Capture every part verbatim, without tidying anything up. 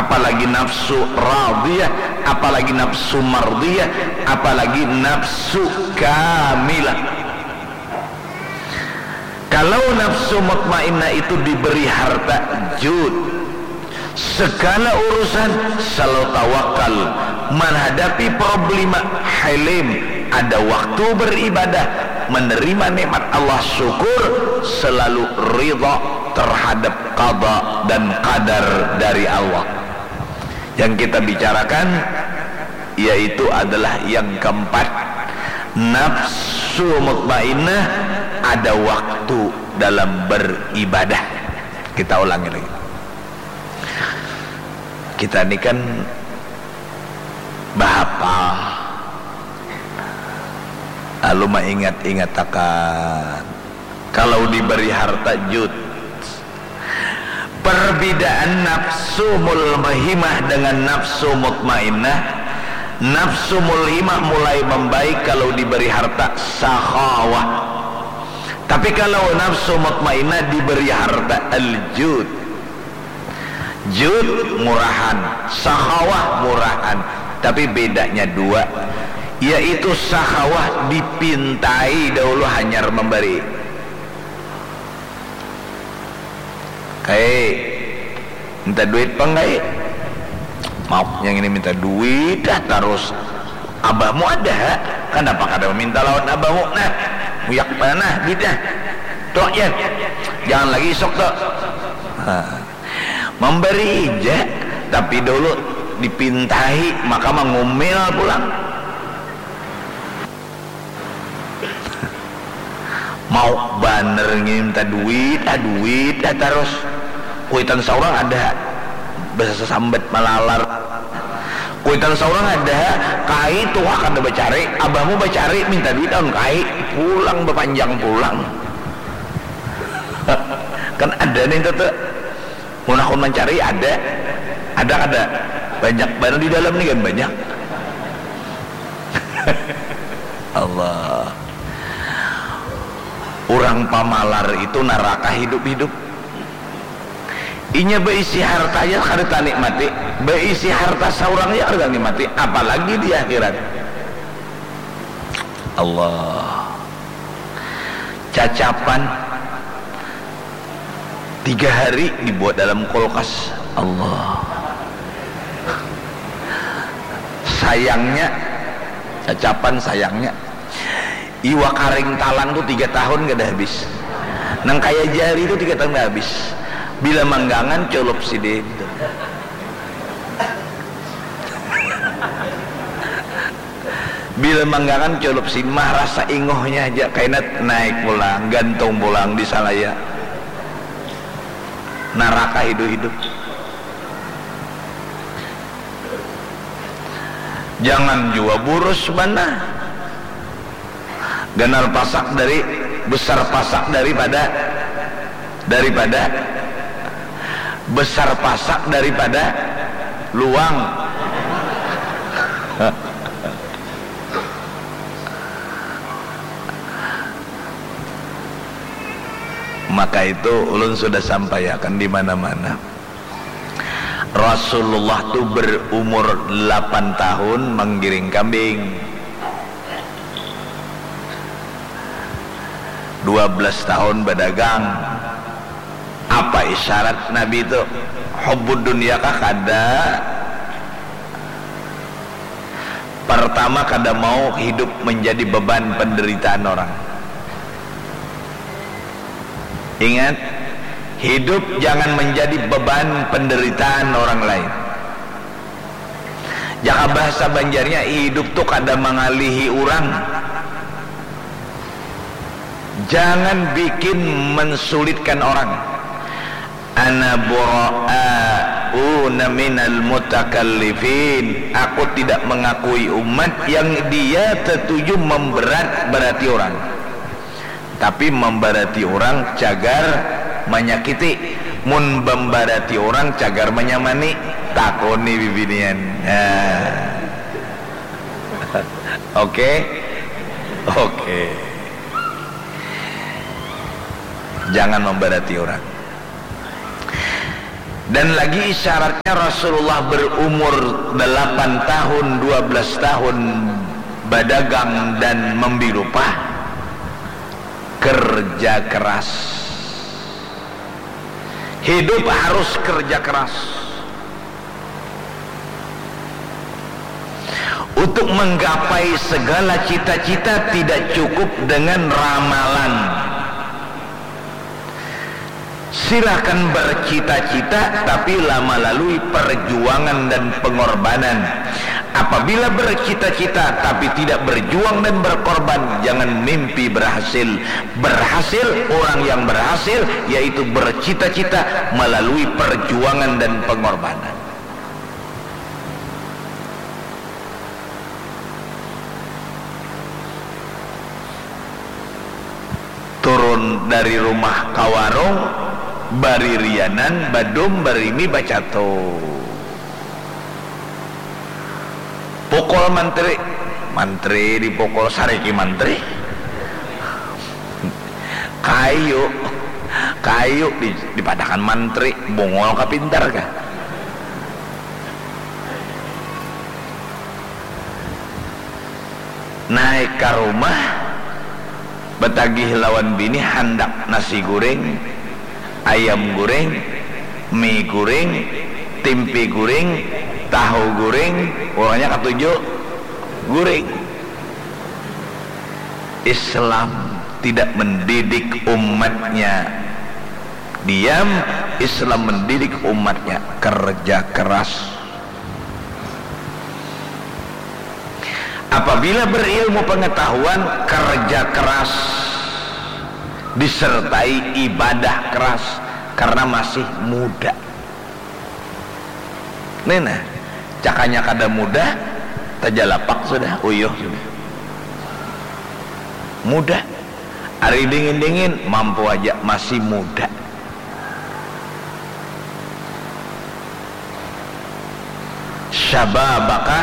apalagi nafsu radiyah, apalagi nafsu mardiyah, apalagi nafsu kamilah. Kalau nafsu mutmainnah itu diberi harta, jud, segala urusan selalu tawakal, menghadapi problema, halim, ada waktu beribadah, menerima nikmat Allah, syukur, selalu ridha terhadap qada dan qadar dari Allah. Yang kita bicarakan yaitu adalah yang keempat, nafsu mutmainnah ada waktu dalam beribadah. Kita ulangi lagi. Kita ni kan bahapal, lalu maingat-ingatakan. Kalau diberi harta, jud. Perbedaan nafsu mulhimah dengan nafsu mutmainnah, nafsu mulhimah mulai membaik kalau diberi harta, sakhawah. Tapi kalau nafsu mutmainnah diberi harta, al-jud. Jud murahan, sakhawah murahan. Tapi bedanya dua, yaitu sakhawah dipintai dahulu hanyar memberi. Kai, minta duit pang kai. Mauk yang ini minta duit dah terus. Abahmu ada, kenapa kada meminta lawan abahmu? Nah, muyak mana nah duitnya? Tuh ya, jangan lagi isok tuh. Nah, memberi aja, tapi dulu dipintai, maka mengumil pulang. Mau baner nginta duit ah, duit ah tarus. Kuitan saurang ada basasambat malalar. Kuitan saurang ada, kai tuha kada bacari, abahmu bacari minta duit aun kai, pulang bapanjang pulang. Kan ada nih tuh. Mun aku mancari ada, ada kada? Banyak banar di dalam ni kan banyak. Allah. Urang pamalar itu naraka hidup-hidup. Inya baisi harta aja kada tanikmati, baisi harta saurang aja kada tanikmati, apalagi di akhirat. Allah. Cacapan tiga hari dibuat dalam kulkas. Allah. Sayangnya, cacapan sayangnya, iwa karing talang tu tiga tahun kada habis. Nang kaya jari tu tiga tahun kada habis. Bila manggangan, culup sidin. Bila manggangan culup simah, rasa ingohnya haja kaina naik pulang, gantung pulang di salaya. Naraka hidup-hidup. Jangan jua burus banar. Ganal pasak dari, besar pasak daripada, daripada, besar pasak daripada luang. Maka itu ulun sudah sampaiakan di mana-mana. Rasulullah tu berumur lapan tahun menggiring kambing. Dua belas tahun badagang. Apa isyarat Nabi tu? Hubbud dunya kah? Kada. Pertama, kada mau hidup menjadi beban penderitaan orang. Ingat, hidup jangan menjadi beban penderitaan orang lain. Jaka bahasa Banjarnya, hidup tu kada mangalihi urang. Jangan bikin mensulitkan orang. Ana bura'una minal mutakallifin. Aku tidak mengakui umat yang dia setuju memberat-berati orang. Tapi mambarati urang cagar manyakiti, mun mambarati urang cagar manyamani, takuni bibinian. Nah. Oke. Oke. Jangan mambarati urang. Dan lagi isyaratnya Rasulullah berumur delapan tahun, dua belas tahun badagang dan membilupa, kerja keras. Hidup harus kerja keras. Untuk menggapai segala cita-cita tidak cukup dengan ramalan. Silakan bercita-cita, tapi la-, melalui perjuangan dan pengorbanan. Apabila bercita-cita tapi tidak berjuang dan berkorban, jangan mimpi berhasil. Berhasil orang yang berhasil, yaitu bercita-cita melalui perjuangan dan pengorbanan. Turun dari rumah ka warung, baririanan, badum, barimi, bacatu. Pukul mantri, mantri dipukul, sariki mantri. Kayu, kayu di-, dipadakan mantri, bungul ka pintar kah? Naik ka rumah, batagih lawan bini handak nasi guring, ayam guring, mi guring, timpi guring, tahu guring, pokoknya katuju guring. Islam tidak mendidik umatnya diam, Islam mendidik umatnya kerja keras. Apabila berilmu pengetahuan, kerja keras disertai ibadah keras karena masih muda. Nih nah, cakanya kada muda, tajalapak sudah, uyuh sudah. Muda. Ari dingin-dingin, mampu aja, masih muda. Syababaka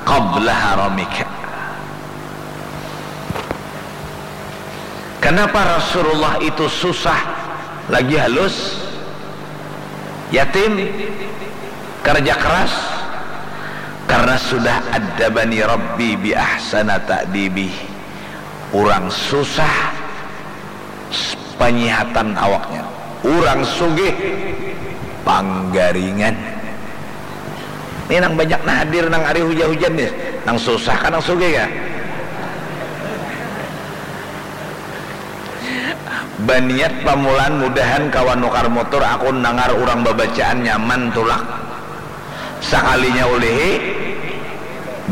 qabla haramika. Kenapa Rasulullah itu susah lagi halus? Yatim, kerja keras, karena sudah adabani Rabbi bi ahsana ta'dibi. Urang susah, s-, panyihatan awaknya. Urang sugih, panggaringan. Ini nang banyak nah hadir nang ari hujan-hujan nih, nang susah kan nang sugih ya. Baniat pamulaan mudahan kawan nukar mutur, aku nangar urang babacaan nyaman tulak. Sakalinya ulihi,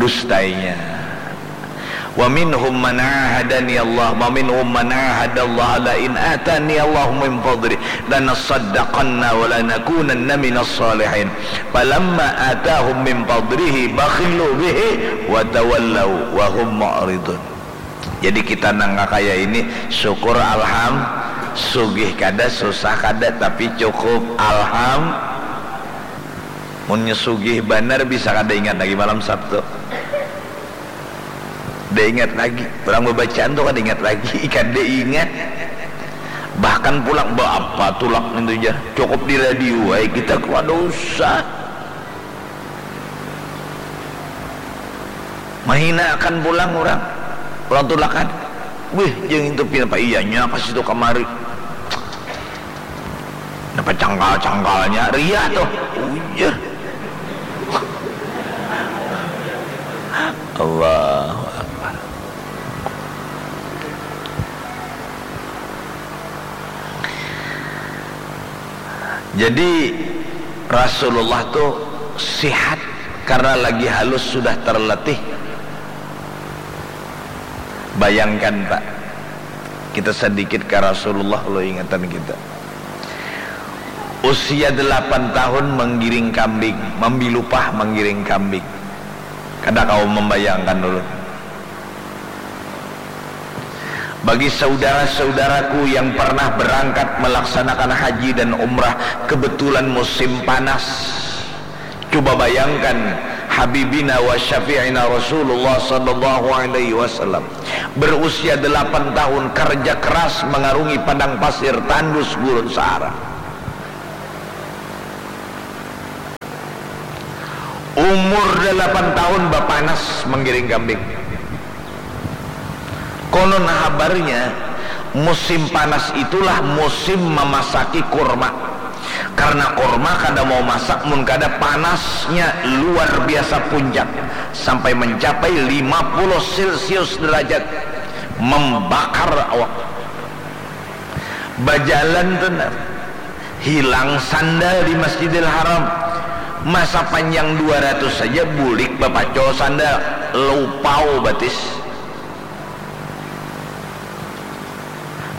dustainya. Wa minhum man ahadani Allah, wa minhum man ahadallaha la in atani Allahu min fadli lanasaddaqanna wa lanakunanna minas salihin. Falamma atahum min fadlihi bakhilu bihi wa tawallau wa hum mu'ridun. Jadi kita nang kaya ini, syukur alham, sugih kada, susah kada, tapi cukup alham. Munnya sugih banar bisa kada ingat lagi malam Sabtu. Kada ingat lagi. Urang babacaan tu kada ingat lagi, kada ingat. Bahkan pulang, ba apa tulak nintu jar. Cukup di radio ai kita, kada usah. Mahina akan pulang urang. Urang tulakan. Wih, jangan itu pinapa iyanya ka situ kamari. Napa cangkal-cangkalnya, riah tuh. Ujar. Allahu Akbar. Jadi Rasulullah tuh sihat karena lagi halus sudah terletih. Bayangkan Pak, kita sedikit ke Rasulullah lo ingatan kita. Usia delapan tahun menggiring kambing, mambilupah menggiring kambing. Kada kau membayangkan dulu. Bagi saudara-saudaraku yang pernah berangkat melaksanakan haji dan umrah, kebetulan musim panas. Coba bayangkan, Habibina wa Syafi'ina Rasulullah sallallahu alaihi wasallam berusia delapan tahun, kerja keras mengarungi padang pasir tandus gurun Sahara. Sudah delapan tahun bapanas menggiring kambing. Konon habarnya, musim panas itulah musim mamasaki kurma. Karena kurma kada mau masak mun kada panasnya luar biasa puncak, sampai mencapai lima puluh celcius derajat, membakar awak. Bajalan tu nah, hilang sandal di Masjidil Haram. Masa panjang dua ratus saja bulik bapacul sandal, lupau batis.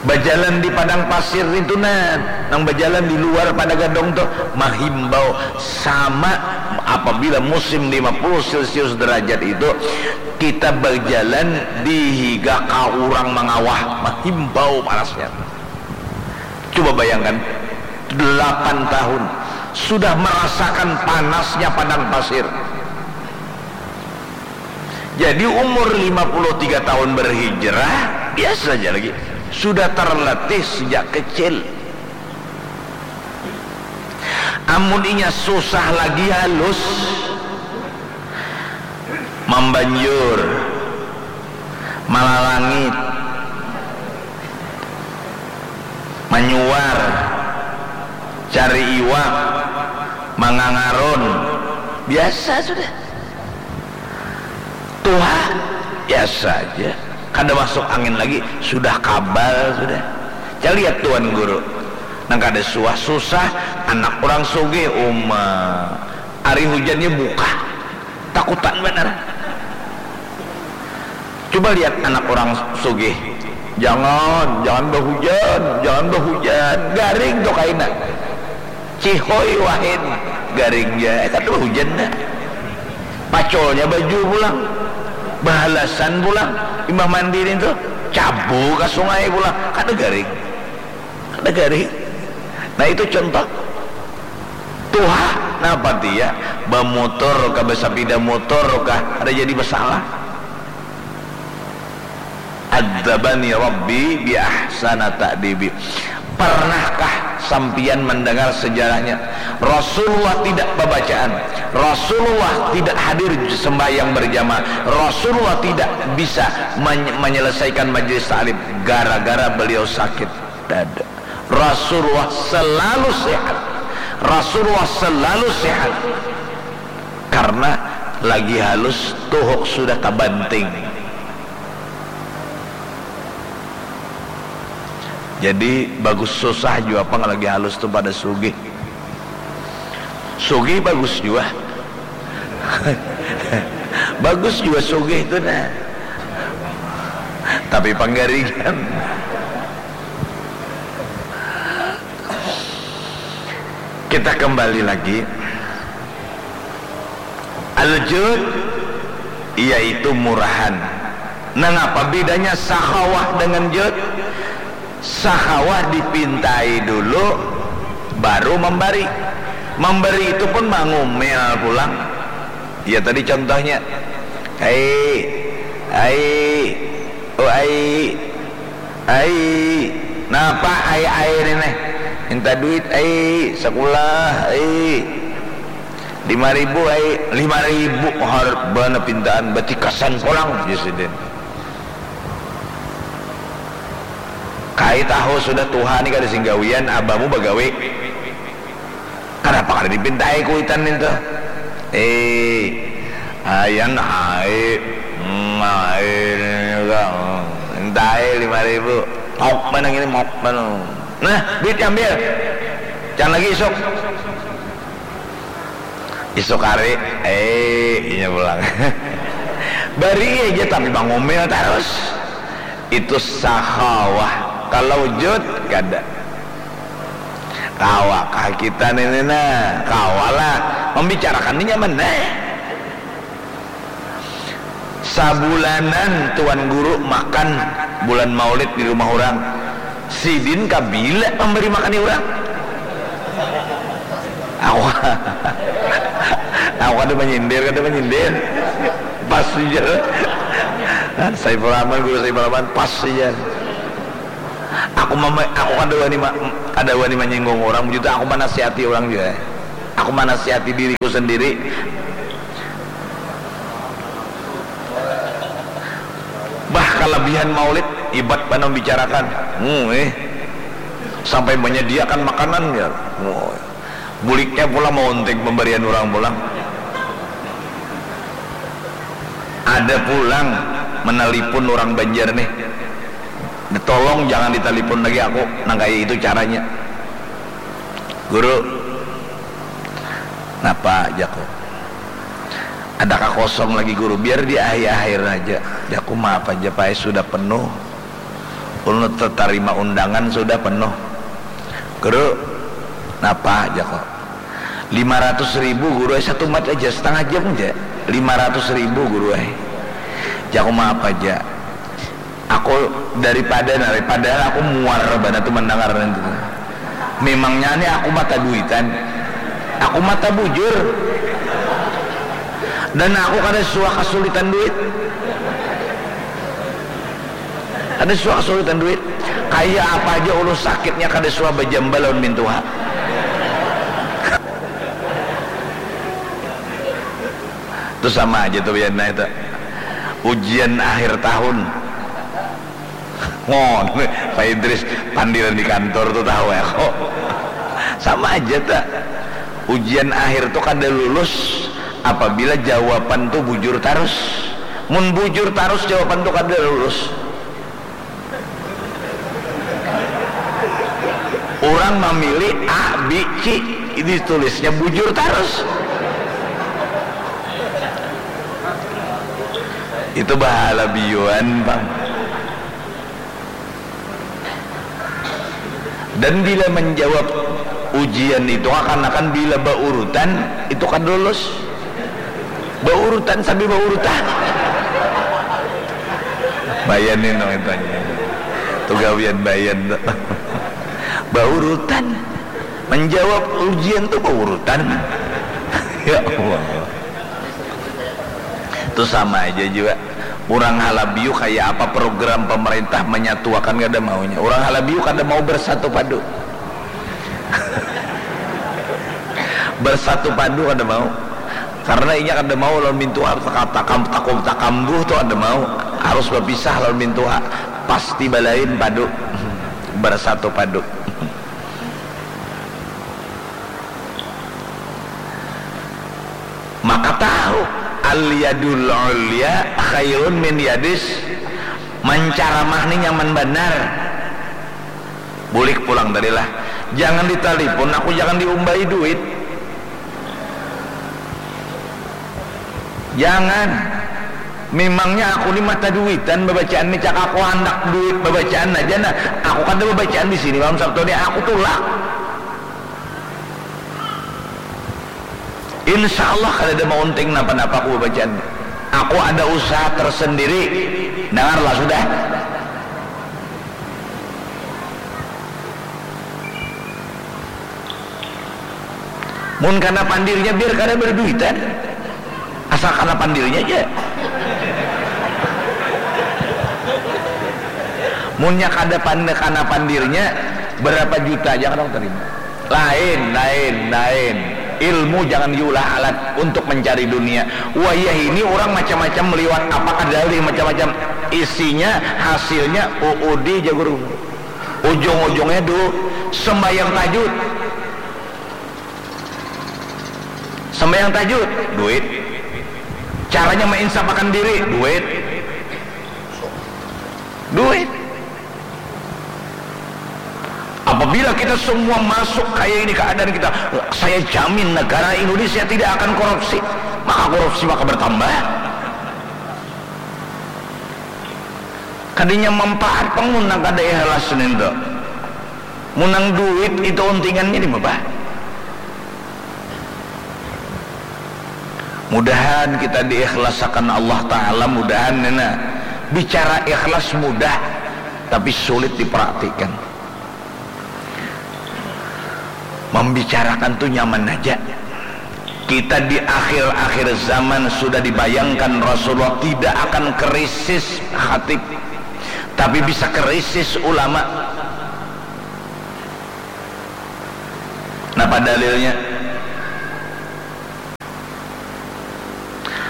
Bajalan di padang pasir itu nah, nang bajalan di luar pada gadong tu, mahimbau sama apabila musim lima puluh celcius derajat itu, kita bajalan di higa ka urang mangawah, mahimbau panasnya. Coba bayangkan, delapan tahun sudah merasakan panasnya padang pasir. Jadi umur lima puluh tiga tahun berhijrah, biasa saja lagi. Sudah terlatih sejak kecil. Amun inya susah lagi halus, mambanjur, malalangit, manyuar, cari iwak, mangangarun, biasa sudah. Tuha, biasa aja. Kada masuk angin lagi, sudah kabal sudah. Caliat tuan guru. Nang kada suah susah, anak urang sugih uma. Ari hujannya buka. Takutan banar. Coba lihat anak urang sugih. Jangan, jangan bahujan, jangan bahujan. Garing tu kaina. Cihoi wahin. Garing ja. Eh, kada bahujan dah. Pacolnya baju pulang. Bahalasan pulang. Imbah mandi nintu. Cabu ka sungai pulang. Kada garing. Kada garing. Nah, itu contoh. Tuha, napa dia? Bamutur kah, basapida mutur kah? Kada jadi masalah. Adzabani Rabbi bi ahsana ta'dibi. Pernahkah sampiyan mendengar sejarahnya? Rasulullah tidak babacaan. Rasulullah tidak hadir sembahyang berjamaah. Rasulullah tidak bisa men-, menyelesaikan majelis taklim gara-gara beliau sakit dada. Rasulullah selalu sehat. Rasulullah selalu sehat. Karena lagi halus tuhuk sudah tabanting. Jadi bagus susah jua pang lagi halus tu pada sugih. Sugih bagus jua. Bagus jua sugih tu nah. Tapi panggaringan. Kita kembali lagi. Al-jud yaitu murahan. Nangapa bedanya sakhawah dengan jud? Sakhawah dipintai dulu, baru memberi. Memberi itu pun mangumil pulang. Ya tadi contohnya, ai, ai, oh ai, ai, napa ai ai ini? Minta duit ai, sekolah ai, lima ribu ai, lima ribu harap bana pintaan, batikasan pulang, ya sidin. Kai tahu sudah tuha ni kada sing gawian, abamu bagawi. Kanapa kada dipintai kuitan nintu? Eh, ayan ai, hmm, ai, mintai lima ribu. Mok mana ini, mok mana? Nah, duit ambil. Jangan lagi isuk. Isuk hari, eh, inya pulang. Bari aja tapi mangumil tarus. Itu sakhawah. Kalau jud, kada. Kawakah kita nini nah? Kawalah. Membicarakan ni nyaman nah. Sabulanan tuan guru makan bulan maulid di rumah urang. Sidin kabila memberi makan urang? Aku, aku kada menyindir, kada menyindir. Pas saja. Saiful Rahman, guru Saiful Rahman, pas saja. Aku mama, aku kada wani ma-, kada wani menyinggung orang, begitu aku menasihati orang juga. Aku menasihati diriku sendiri. Kalabihan maulid, ibat banar membicarakan. Hmm, eh. Sampai menyediakan makanan, ya. Oh. Buliknya pulang maunting pemberian urang pulang. Ada pulang menelpon urang Banjar nih. Tolong jangan ditelepon lagi aku, nang kaya itu caranya. Guru, napa, jaku. Adakah kosong lagi, Guru? Biar di akhir-akhir aja. Jaku, maaf aja, Pak, sudah penuh. Ulun tetarima undangan sudah penuh. Guru, napa, jaku. Lima ratus ribu, Guru, eh, satumat aja, setengah jam aja. Lima ratus ribu, Guru, eh. Jaku, maaf aja. Aku daripada, nah, padahal aku muar banar tu mandangar nanti. Memangnya ni aku mata duitan? Aku mata bujur. Dan aku kada suah kasulitan duit. Kada suah kasulitan duit. Kaya apa aja ulun sakitnya kada suah bajamba lawan mintuha. Tu sama aja tu, Yan, nah, itu. Ujian akhir tahun. Ngon, Pak Idris, pandiran di kantor tu tahu ya kok. Sama aja ta. Ujian akhir tu kada lulus apabila jawaban tu bujur tarus. Mun bujur tarus jawaban tu kada lulus. Urang mamilih A, B, C, ini tulisnya bujur tarus. Itu bahala biuan, Bang. Dan bila menjawab ujian itu, akan-akan bila baurutan, itu kada lulus. Baurutan sambil baurutan. Bayan ini namanya tanya. Tu gawian bayan tu. Baurutan. Menjawab ujian tu baurutan. Ya Allah. Tu sama aja jua. Urang Halabiu kaya apa program pemerintah menyatuakan kada maunya. Urang Halabiu kada mau bersatu padu. Bersatu padu kada mau. Karena inya kada mau lawan mintuha takam, takam, takambuh tu kada mau. Harus bapisah lawan mintuha. Pasti balain padu. Bersatu padu. Maka tahu, al yadul ulya khairun min yadis. Mancaramah ni nyaman banar. Bulik pulang tadi lah. Jangan ditalipun aku, jangan diumbai duit. Jangan. Memangnya aku ni mata duitan babacaan ni, cak aku handak duit babacaan aja nah. Aku kada babacaan di sini malam Sabtu ni, aku tulak. Insya Allah kada ada maunting napa-napa aku babacaan. Aku ada usaha tersendiri. Dangarlah sudah. Mun kana pandirnya biar kada berduitan. Asal kana pandirnya aja. Munnya kada pan-, kana pandirnya, berapa juta aja kada terima. Lain, lain, lain. Ilmu jangan diulah alat untuk mencari dunia. Wayah ini orang macam-macam meliwat apa kadalih macam-macam. Isinya, hasilnya, uudi ja guru. Ujung-ujungnya du, sembahyang tahajud. Sembahyang tahajud, duit. Caranya menginsafakan diri, duit. Duit. Apabila kita semua masuk kayak ini keadaan kita, saya jamin negara Indonesia tidak akan korupsi. Maka korupsi maka bertambah. Kadinya manfaat pang mun nang kada ikhlas nintu. Mun nang duit itu untingannya di babah. Mudahan kita diikhlasakan Allah Ta'ala, mudahan nina. Bicara ikhlas mudah, tapi sulit dipraktikan. Membicarakan tu nyaman aja. Kita di akhir-akhir zaman sudah dibayangkan Rasulullah tidak akan krisis khatib, tapi bisa krisis ulama. Napa dalilnya?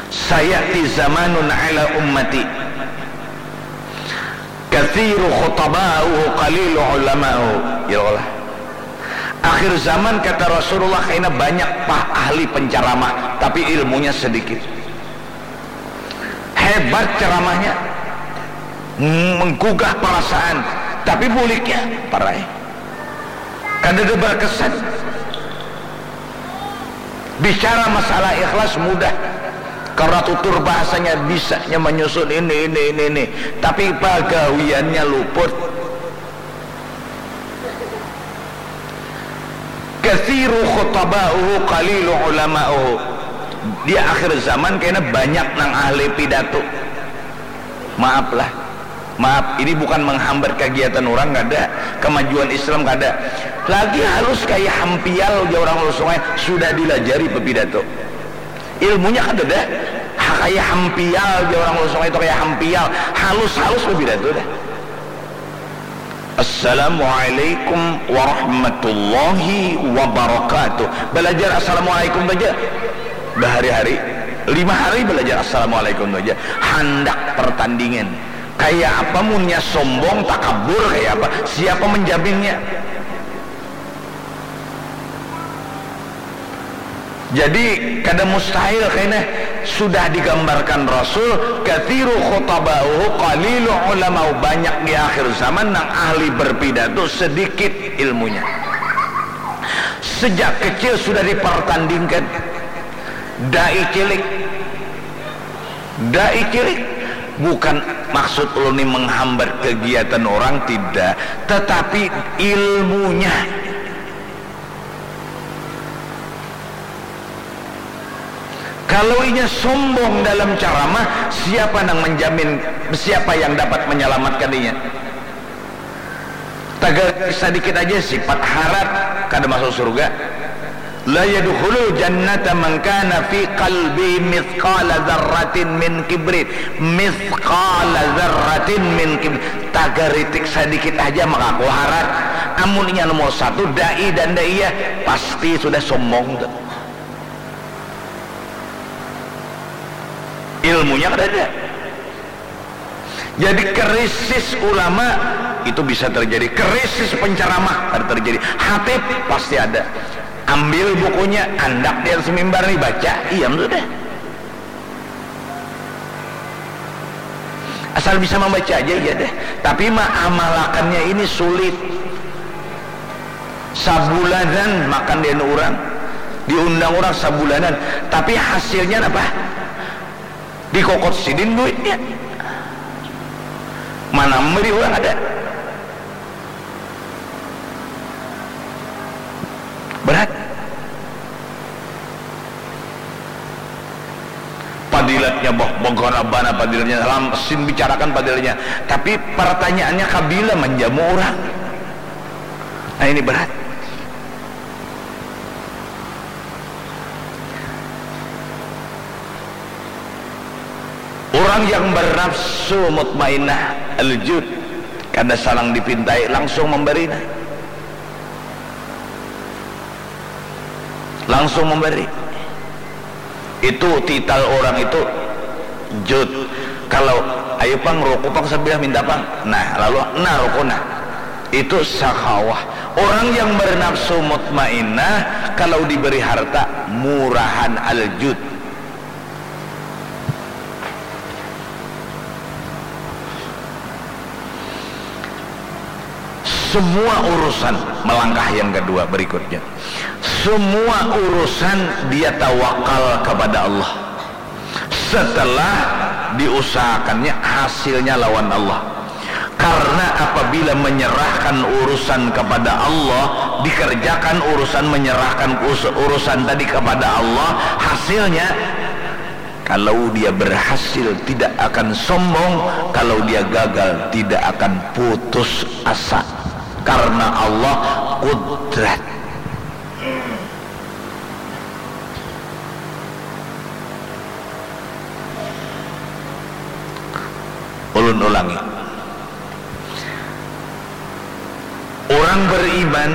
Sayati zamanun ala ummati Kathiru khutaba'uhu qalilu ulama'uhu. Ya Allah. Akhir zaman, kata Rasulullah, kaina banyak pah ahli penceramah, tapi ilmunya sedikit. Hebat ceramahnya, menggugah perasaan, tapi buliknya parai. Kada ada berkesan. Bicara masalah ikhlas mudah, karena tutur bahasanya bisanya menyusun ini, ini, ini, ini. Tapi pagawiannya luput. Kathiru khutaba'uhu qalilu ulama'uhu. Di akhir zaman kena banyak nang ahli pidato. Maaflah. Maaf, ini bukan menghambat kegiatan orang, kada. Kemajuan Islam, kada. Lagi halus kayak hampial, jauh orang Ulu Sungai, sudah dilajari bepidato. Ilmunya kada ada. Ha, kayak hampial, jauh orang Ulu Sungai itu kayak hampial. Halus-halus bepidato dah. Assalamualaikum warahmatullahi wabarakatuh. Belajar assalamualaikum saja. Bahari-hari, lima hari belajar assalamualaikum saja. Handak pertandingan. Kayak apa munnya sombong, takabur, kayak apa? Siapa menjaminnya? Jadi, kada mustahil kena sudah digambarkan Rasul, kathiru khutaba'uhu qalilu ulama'u, banyak di akhir zaman nang ahli berpidato, sedikit ilmunya. Sejak kecil sudah dipertandingkan. Dai cilik. Dai cilik. Bukan maksud ulun ni menghambat kegiatan orang, tidak. Tetapi ilmunya. Kalau inya sombong dalam ceramah, siapa nang menjamin, siapa yang dapat menyelamatkan inya? Tagal sadikit aja sifat harat kada masuk surga. La yadkhulul jannata man kana fi qalbi mithqala dzarratin min kibrin. Mithqala dzarratin min kibrin. Tagaritik sadikit aja maka aku harat. Amun inya nomor satu, dai dan dai ya, pasti sudah sombong tu. Ilmunya kada ada. Jadi krisis ulama itu bisa terjadi, krisis penceramah ada terjadi, hatib pasti ada. Ambil bukunya, andak di atas mimbar nih, baca, iam sudah. Asal bisa membaca aja, iya deh. Tapi ma-, amalakannya ini sulit. Sabulanan makan dia orang, diundang orang sabulanan. Tapi hasilnya apa? Dikokot sidin duitnya. Mana memberi orang ada. Berat. Padilatnya bah, bagarabana padilatnya, lam, sin bicarakan padilatnya. Tapi pertanyaannya kabila menjamu orang. Nah, ini berat. Orang yang bernafsu mutmainnah al-jud, kada salang dipintai, langsung memberi, nah. Langsung memberi. Itu titel orang itu jud. Kalau, "Ayo pang, ruku pang sebilah, minta pang." Nah, lalu, nah, ruku, nah. Itu sakhawah. Orang yang bernafsu mutmainnah, kalau diberi harta, murahan al-jud. Semua urusan, melangkah yang kedua berikutnya. Semua urusan dia tawakal kepada Allah. Setelah diusahakannya, hasilnya lawan Allah. Karena apabila menyerahkan urusan kepada Allah, dikerjakan urusan, menyerahkan us-, urusan tadi kepada Allah, hasilnya, kalau dia berhasil, tidak akan sombong, kalau dia gagal, tidak akan putus asa. Karena Allah kudrat. Ulun ulangi. Orang beriman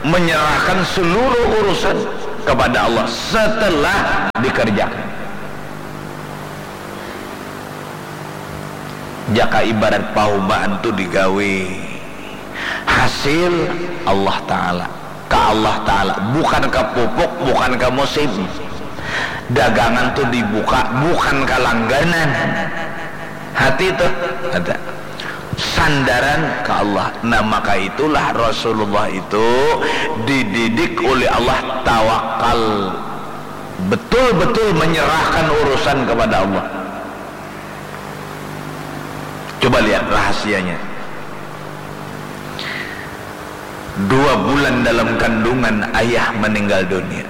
menyerahkan seluruh urusan kepada Allah setelah dikerjakan. Jaka ibarat pahumaan tu digawi, hasil Allah Ta'ala, ka Allah Ta'ala, bukan ka pupuk, bukan ka musim. Dagangan tu dibuka bukan ka langganan. Hati tu ada sandaran ka Allah. Nah, maka itulah Rasulullah itu dididik oleh Allah tawakal, betul-betul menyerahkan urusan kepada Allah. Coba lihat rahasianya. Dua bulan dalam kandungan ayah meninggal dunia.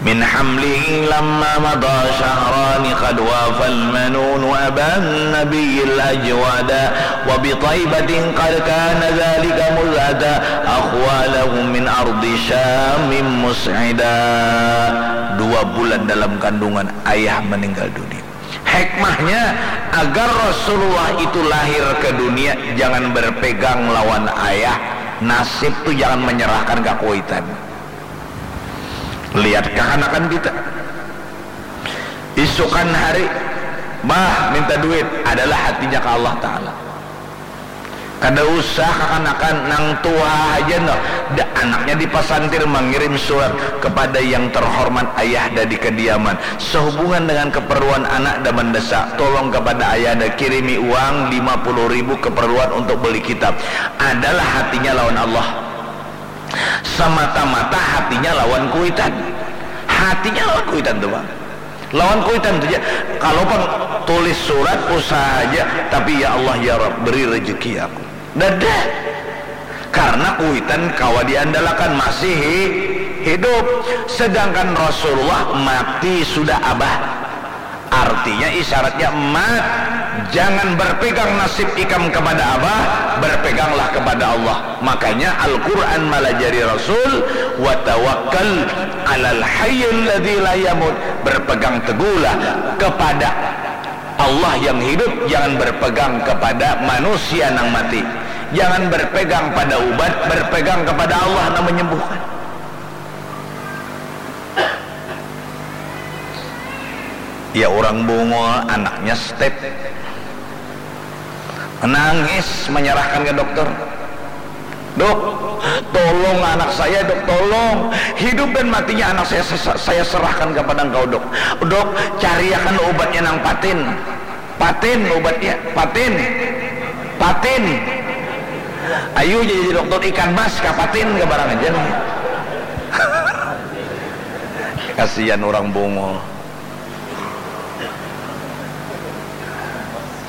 Min hamlihi lamma mada syahrani qad wafal manun wa aban nabiyil ajwada wa bi taibatin qad kana dzalika muzata akhwalahu min ardi syamin mus'ida. Dua bulan dalam kandungan ayah meninggal dunia. Hikmahnya, agar Rasulullah itu lahir ke dunia, jangan berpegang lawan ayah. Nasib tu jangan menyerahkan ka kuitan. Lihat kakanakan kita. Isukan hari, bah, minta duit, adalah hatinya ke Allah Ta'ala. Kada usah kakanakan, nang tuha haja noh. Da, anaknya di pasantir mangirim surat kepada yang terhormat ayah da di kediaman. Sehubungan dengan keperluan anak da mendesak, tolong kepada ayah da kirimi uang lima puluh ribu keperluan untuk beli kitab. Adalah hatinya lawan Allah. Semata-mata hatinya lawan kuitan. Hatinya lawan kuitan tu, Bang. Lawan kuitan tu ja. Kalau pang tulis surat, usaha haja, tapi, "Ya Allah, ya Rabb, beri rezeki aku." Dada. Karena kuitan kawa diandalakan, masih hi-, hidup. Sedangkan Rasulullah mati sudah, Abah. Artinya, isyaratnya, mat, jangan berpegang nasib ikam kepada Abah, berpeganglah kepada Allah. Makanya Al-Quran malajari Rasul, "Wa tawakkal alal hayyil ladzi la yamut." Berpegang teguhlah kepada Allah yang hidup, jangan berpegang kepada manusia nang mati. Jangan berpegang pada ubat, berpegang kepada Allah nang menyembuhkan. Ya, urang bungul, anaknya step. Menangis, menyerahkan ke dokter. "Dok, tolong anak saya, Dok, tolong. Hidup dan matinya anak saya, saya, saya serahkan kepada Engkau, Dok. Dok, cariakan obatnya nang patin. Patin obatnya, patin. Patin. Ayu jadi dokter ikan mas, ka patin, ka barang aja nih." Kasihan urang bungul.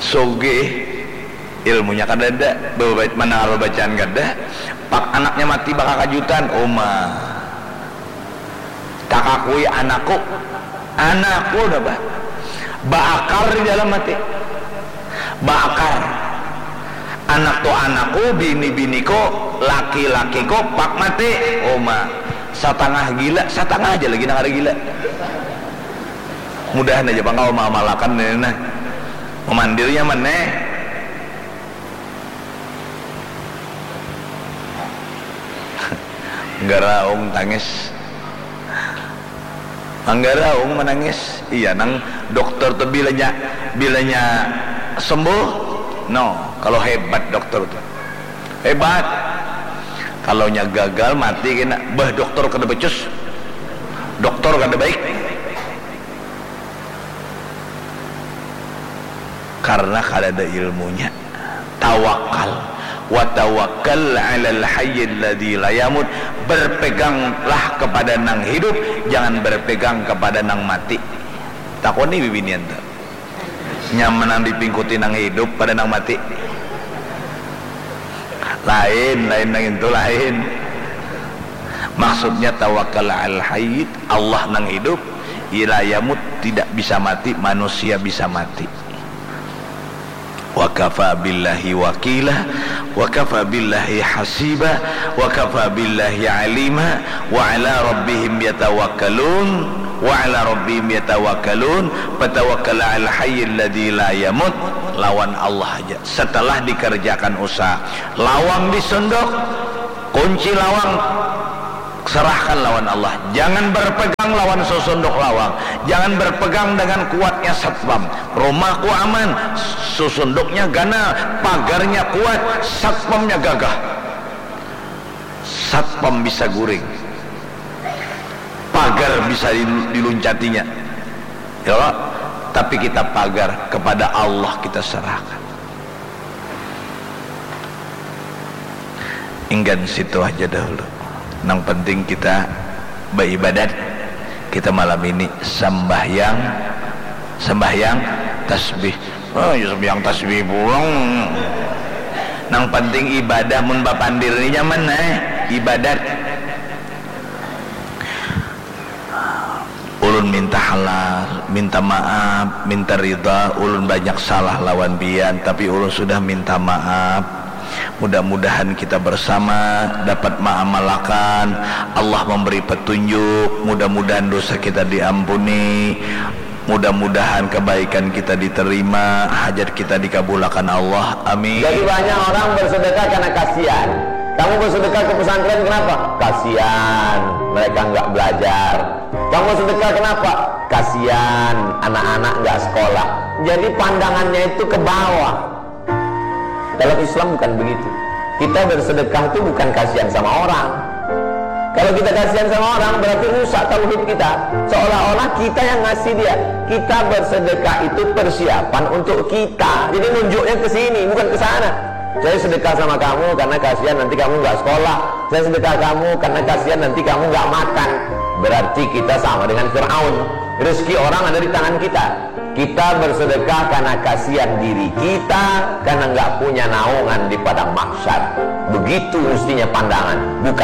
Sugih, ilmunya kadada, bebait mandangar bebacaan kada, pak anaknya mati bakakajutan, uma. Takakui anakku, anakku dah bah. Baakar di dalam hati. Baakar. Anak tu anakku, bini biniku, laki lakiku, pak mati, uma. Satangah gila, satangah aja lagi nang ada gila. Mudahan aja pang kawa maamalakan ini nah. Mamandir nyaman neh. Nggara aung tangis. Anggara aung manangis. Iya, nang dokter tu bilanya, bilanya sembuh. No, kalau hebat dokter tu. Hebat. Kalau nya gagal, mati kena. Bah, dokter kada becus. Dokter kada baik. Karena kada ada ilmunya. Tawakal. Wa tawakkal alal hayyil ladzi la yamut. Berpeganglah kepada nang hidup, jangan berpegang kepada nang mati. Takuni bibinian tu. Nyaman nang dipingkuti nang hidup pada nang mati. Lain, lain nang itu lain. Maksudnya tawakal al hayy, Allah nang hidup, la yamut, tidak bisa mati, manusia bisa mati. Wa kafa billahi wakila, wa kafa billahi hasiba, wa kafa billahi alima, wa ala rabbihim yatawakkalun, wa ala rabbihim yatawakkalun, fatawakkal al hayyil ladzi la yamut, lawan Allah aja. Setelah dikerjakan usaha, lawang disunduk, kunci lawang Serahkan lawan Allah. Jangan berpegang lawan susunduk lawang. Jangan berpegang dengan kuatnya satpam. Rumahku aman, susunduknya ganal, pagarnya kuat, satpamnya gagah. Satpam bisa guring. Pagar bisa diluncatinya. Ya, tapi kita pagar kepada Allah kita serahkan. Inggan situ aja dahulu. Nang penting kita beribadat. Kita malam ini sembahyang, sembahyang tasbih. Oh, ya sembahyang tasbih pulang. Nang penting ibadah, mun bapandir ni nyaman, eh. Ibadat. Ulun minta halal, minta maaf, minta ridha, ulun banyak salah lawan pian, tapi ulun sudah minta maaf. Mudah-mudahan kita bersama dapat maamalakan, Allah memberi petunjuk, mudah-mudahan dosa kita diampuni, mudah-mudahan kebaikan kita diterima, hajat kita dikabulakan Allah. Amin. Jadi banyak orang bersedekah karena kasihan. Kamu bersedekah ke pesantren kenapa? Kasihan, mereka nggak belajar. Kamu sedekah kenapa? Kasihan, anak-anak nggak sekolah. Jadi pandangannya itu ke bawah. Dalam Islam bukan begitu. Kita bersedekah itu bukan kasihan sama orang. Kalau kita kasihan sama orang, berarti rusak tauhid kita. Seolah-olah kita yang ngasih dia. Kita bersedekah itu persiapan untuk kita. Jadi nunjuknya ke sini, bukan ke sana. Saya sedekah sama kamu karena kasihan nanti kamu nggak sekolah. Saya sedekah kamu karena kasihan nanti kamu nggak makan. Berarti kita sama dengan Firaun. Rezeki orang ada di tangan kita. Kita bersedekah karena kasihan diri kita, karena nggak punya naungan di padang mahsyar. Begitu mestinya pandangan, bukan